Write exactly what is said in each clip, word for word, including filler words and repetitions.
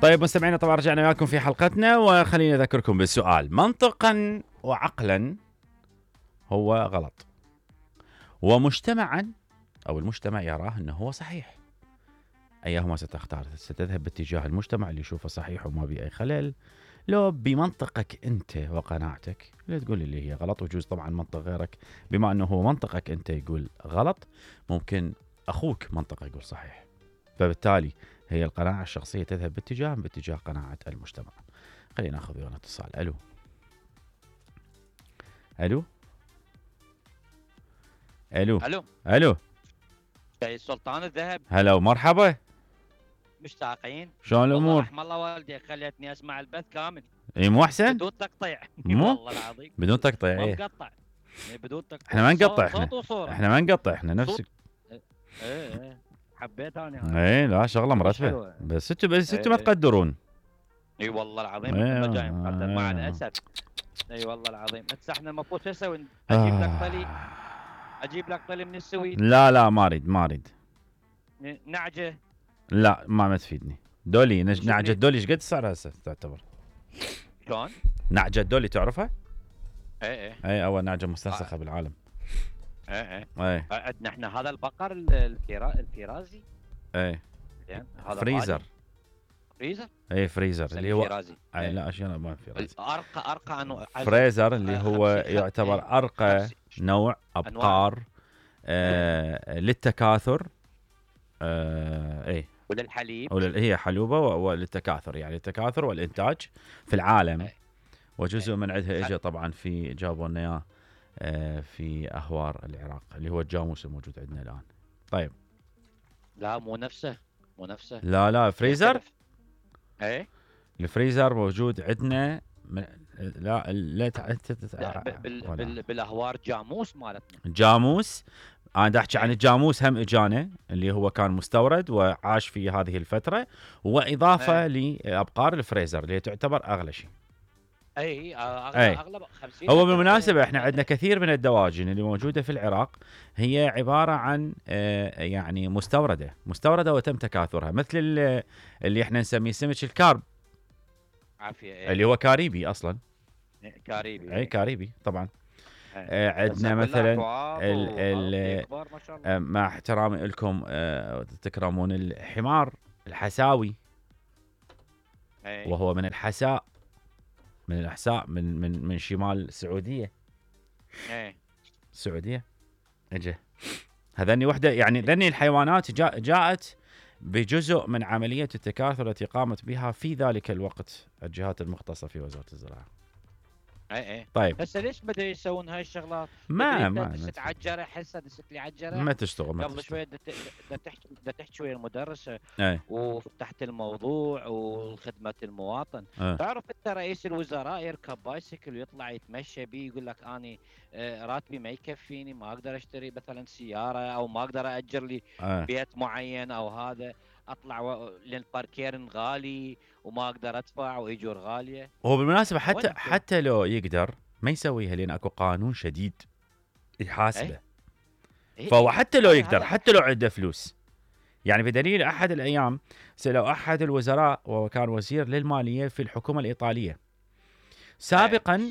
طيب مستمعينا، طبعا رجعنا وياكم في حلقتنا، وخليني اذكركم بالسؤال. منطقا وعقلا هو غلط، ومجتمعا او المجتمع يراه انه هو صحيح. ايهما ستختار؟ ستذهب باتجاه المجتمع اللي يشوفه صحيح وما بيه اي خلل، لو بمنطقك انت وقناعتك اللي تقول اللي هي غلط؟ وجوز طبعا منطق غيرك بما انه هو منطقك انت يقول غلط، ممكن اخوك منطقه يقول صحيح، فبالتالي هي القناعه الشخصيه تذهب باتجاه باتجاه قناعه المجتمع. خلينا ناخذ ويانا اتصال. الو الو الو الو الو جاي سلطان الذهب. هلا ومرحبا، مشتاقين. شلون والله الامور؟ رحم الله والدي خليتني اسمع البث كامل اي مو احسن؟ بدون تقطيع. مو والله العظيم بدون تقطيع. ما ايه مقطع. إيه بدون تقطيع. احنا ما نقطع، صوت احنا صوت وصورة. احنا ما نقطع، احنا نفس. ايه ايه حبيت انا. ايه لا شغله مرتبه، بس انتوا بس انتوا ما ايه تقدرون. اي والله العظيم ايه احنا جاي مقدر مع ايه الاسف. اي والله العظيم. هسه احنا المفروض شو نسوي؟ اجيب لك طلي، آه. اجيب لك طلي من السويد. لا لا ما اريد ما اريد. ن- نعجه. لا ما ما تفيدني. دولي نج... شو نعجة نريد؟ دولي ايش قد سعرها هسه تعتبر؟ شلون؟ نعجة دولي تعرفها؟ ايه ايه اي اول نعجة مستنسخة بالعالم. ايه ايه اي عندنا احنا هذا البقر ال- الفيرا... الفيرازي. اي زين هذا فريزر. غالي. فريزر. اي فريزر اللي هو الفيرازي. اي إيه. لا اشياء ما فريزر. ارقى ارقى انواع فريزر اللي هو خمسين خم- يعتبر إيه. ارقى خمسين. نوع ابقار آه للتكاثر. آه اي وللحليب. ولل... هي حلوبة و- وللتكاثر، يعني التكاثر والإنتاج في العالم. أي. وجزء أي. من عندها اجى طبعا في جابوا لنا اياه آه، في أهوار العراق اللي هو الجاموس الموجود عندنا الآن. طيب لا مو نفسه مو نفسه لا لا فريزر. يختلف. ايه الفريزر موجود عندنا من... لا لا تع- لا، ب- بال... ولا. بال... بالاهوار جاموس مالتنا. جاموس. انا دا احكي عن أي. الجاموس هم اجانا اللي هو كان مستورد وعاش في هذه الفترة، واضافة لابقار الفريزر اللي تعتبر اغلى شيء. اي اغلب أي. اغلب خمسين. هو بالمناسبة احنا عندنا كثير من الدواجن اللي موجودة في العراق هي عبارة عن آه، يعني مستوردة مستوردة وتم تكاثرها، مثل ال- اللي احنا نسميه سمك الكارب عافيه. إيه. اللي هو كاريبي اصلا. كاريبي. اي كاريبي طبعا. إيه. آه، عندنا بس مثلا أكواض ال- وهذا ال- كبار ما شاء الله. آه، مع احترامي لكم آه، تكرمون الحمار الحساوي، إيه. وهو من الحساء، من الاحساء، من من من شمال السعودية. ايه السعودية اجى هذني وحده، يعني ذني الحيوانات جاء جاءت بجزء من عملية التكاثر التي قامت بها في ذلك الوقت الجهات المختصة في وزارة الزراعة. ايه ايه طيب هسه ليش بدأوا يسوون هاي الشغلات؟ ما تدري ما انت ما دست عجره حسه دست لي عجره ما تشتغل ما قبل تشتغل. شويه دت- دت تحكي دت تحكي ويا المدرسه اي وفتحت الموضوع وخدمه المواطن. اه تعرف انت رئيس الوزراء يركب بايسكل ويطلع يتمشى بيه يقول لك اني آه، راتبي ما يكفيني، ما اقدر اشتري مثلا سياره او ما اقدر اجر لي اه بيت معين او هذا، اطلع و... لان باركيرن غالي وما اقدر ادفع واجور غاليه. هو بالمناسبة حتى وين انت؟ حتى لو يقدر ما يسويها لان اكو قانون شديد يحاسبه. إيه فهو إيه. حتى لو هذا- يقدر هذا- حتى لو عنده فلوس، يعني بدليل احد الايام سالوا احد الوزراء وهو كان وزير للمالية في الحكومة الايطالية سابقا،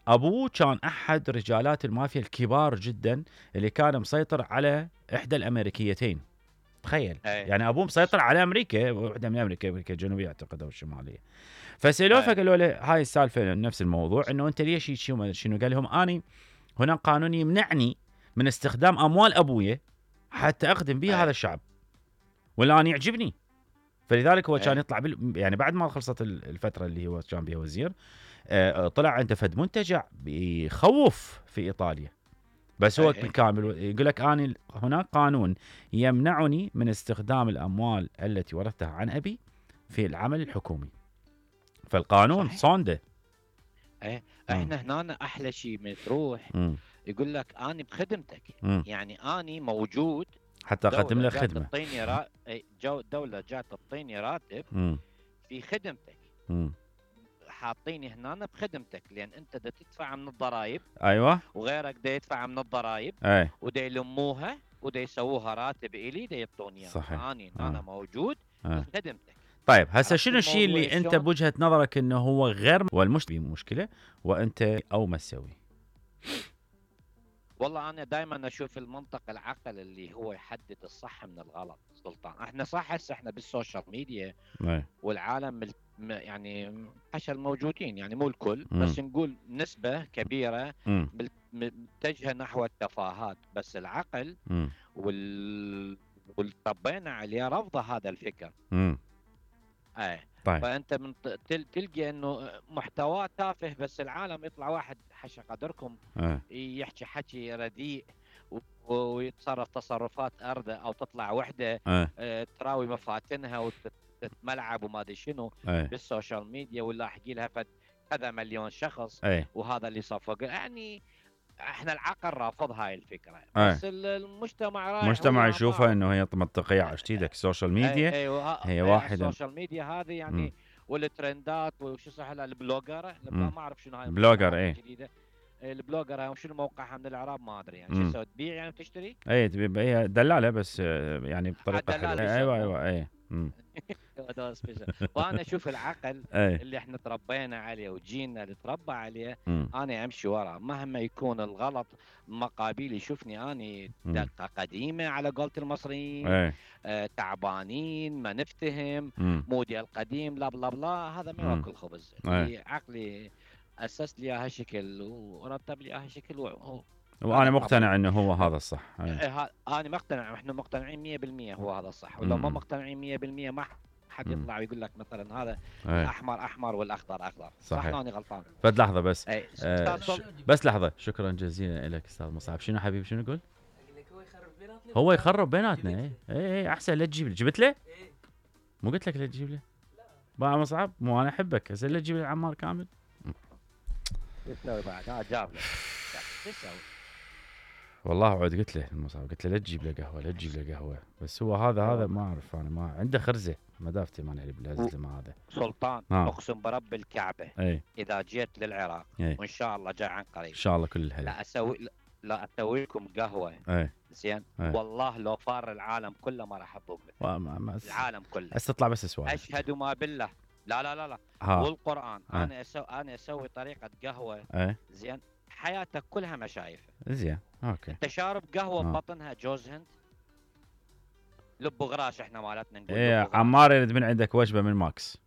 ابوه كان احد رجالات المافيا الكبار جدا اللي كان مسيطر على احدى الامريكيتين. تخيل أي. يعني ابوه مسيطر على امريكا، واحده من امريكا امريكا الجنوبيه اعتقد او الشماليه. فسالوه أي. فقالوا له هاي السالفه نفس الموضوع، انه انت ليش شنو شنو قال لهم اني هناك قانون يمنعني من استخدام اموال ابويا حتى اخدم بها أي. هذا الشعب، ولا انا يعجبني. فلذلك هو أي. كان يطلع بال... يعني بعد ما خلصت الفتره اللي هو كان بها وزير آه، طلع عنده فد منتجع بيخوف في ايطاليا، بس هو أي. بالكامل يقول لك اني هناك قانون يمنعني من استخدام الاموال التي ورثتها عن ابي في العمل الحكومي. فالقانون صحيح. صانده. ايه احنا هنا احلى شيء من تروح مم. يقول لك اني بخدمتك، مم. يعني اني موجود. حتى اقدم له جات خدمه. تعطيني را... إيه، جو دولة جات تعطيني راتب مم. في خدمتك، مم. حاطيني هنا بخدمتك، لان انت دا تدفع من الضرائب ايوه وغيرك دا يدفع من الضرائب اي ودا يلموها ودا يسووها راتب الي دا يعطوني اياها. صحيح. اني آه. انا موجود آه. بخدمتك. طيب هسه عرفت شنو الشيء الموضوع اللي انت شلون؟ بوجهة نظرك انه هو غير والمشكلة مشكلة وانت او ما تسوي؟ والله انا دائما اشوف المنطق العقل اللي هو يحدد الصح من الغلط سلطان. احنا صح هسه احنا بالسوشيال ميديا ايه والعالم مل- م- يعني حشا الموجودين، يعني مو الكل مم. بس نقول نسبة كبيرة امم مل- م- متجهة نحو التفاهات، بس العقل امم وال واللي ربينا عليه رفض هذا الفكر. امم ايه. طيب فانت من ت- تل- تلقى انه محتواه تافه، بس العالم يطلع واحد حشا قدركم ايه يحكي حكي رديء و- ويتصرف تصرفات أردى، أو تطلع وحدة ايه آه، تراوي مفاتنها وتتملعب وما أدري شنو ايه بالسوشيال ميديا، ولا أحكي لها فد كذا مليون شخص ايه وهذا اللي صفق. يعني احنا العقل رافض هاي الفكرة، ايه بس ال- المجتمع رايح المجتمع هو يشوفها ما انه هي منطقية عشت ايدك السوشيال اي ميديا اي وها- هي اي واحدة. السوشيال ميديا هذه امم يعني، والترندات وشو صح لها البلوجر امم ما اعرف شنو هاي بلوجر المصطلحات ايه الجديده. البلوجر هاي شنو موقعها من الاعراب ما ادري، يعني شو امم تسوي تبيع يعني تشتري؟ ايه تبي هي دلالة بس آه، يعني بطريقة حلوة. الدلال إيه، ايوه يسموه. ايوه ايه امم هذا سبيشال. فانا اشوف العقل ايه اللي احنا تربينا عليه وجينا اللي تربى عليه، امم انا امشي وراه مهما يكون الغلط. مقابيل يشوفني اني امم دقه قديمه على قولة المصريين، ايه آه تعبانين ما نفتهم، امم موديل قديم لا بلا بلا، هذا ما امم ياكل خبز. ايه اللي عقلي اسس لي اياها شكل ورتب لي اياها شكل و- وانا انا مقتنع قبله. انه هو هذا الصح. ايه إيه ها- انا مقتنع، احنا مقتنعين مية بالمية هو هذا الصح، ولو ما امم مقتنعين مية بالمية ما حد امم يطلع ويقول لك مثلا هذا ايه الاحمر احمر والاخضر اخضر. صح صحيح. لو اني غلطان؟ فد لحظة بس اي آه استاذ ش... سل... بس لحظة، شكرا جزيلا لك استاذ مصعب. شنو حبيبي شنو يقول؟ اقول لك هو يخرب بيناتنا. هو يخرب بيناتنا. جبت ايه ايه ايه احسن لا تجيب لي. جبت له؟ ايه مو قلت لك لا تجيب له؟ لا بقى مصعب مو انا احبك هسه لا تجيب لي عمار كامل. شو تسوي بعد؟ ها جاب لك شو تسوي؟ والله عود قلت له المصعب، قلت له لا تجيب له قهوه لا تجيب له قهوه، بس هو هذا هذا ما اعرف انا، ما عنده خرزه مدافتي ما نعرف بالهزل مع هذا. سلطان ها. اقسم برب الكعبه اي اذا جيت للعراق اي وان شاء الله جاي عن ان قريب شاء الله كل الهلا. لا اسوي لا اسوي لكم قهوه اي زين. إيه. والله لو فار العالم كله ما راح اذوق مثل ما ما العالم كله. هسه تطلع بس سؤال. اشهد ما بالله. لا لا لا لا ها والقران آه. انا اسوي انا اسوي طريقه قهوه اي زين حياتك كلها ما شايفها. زين اوكي. انت شارب قهوه آه. ببطنها جوز هند، لب غراش احنا مالتنا نقول ايه لب غراش. عمار يريد من عندك وجبه من ماكس.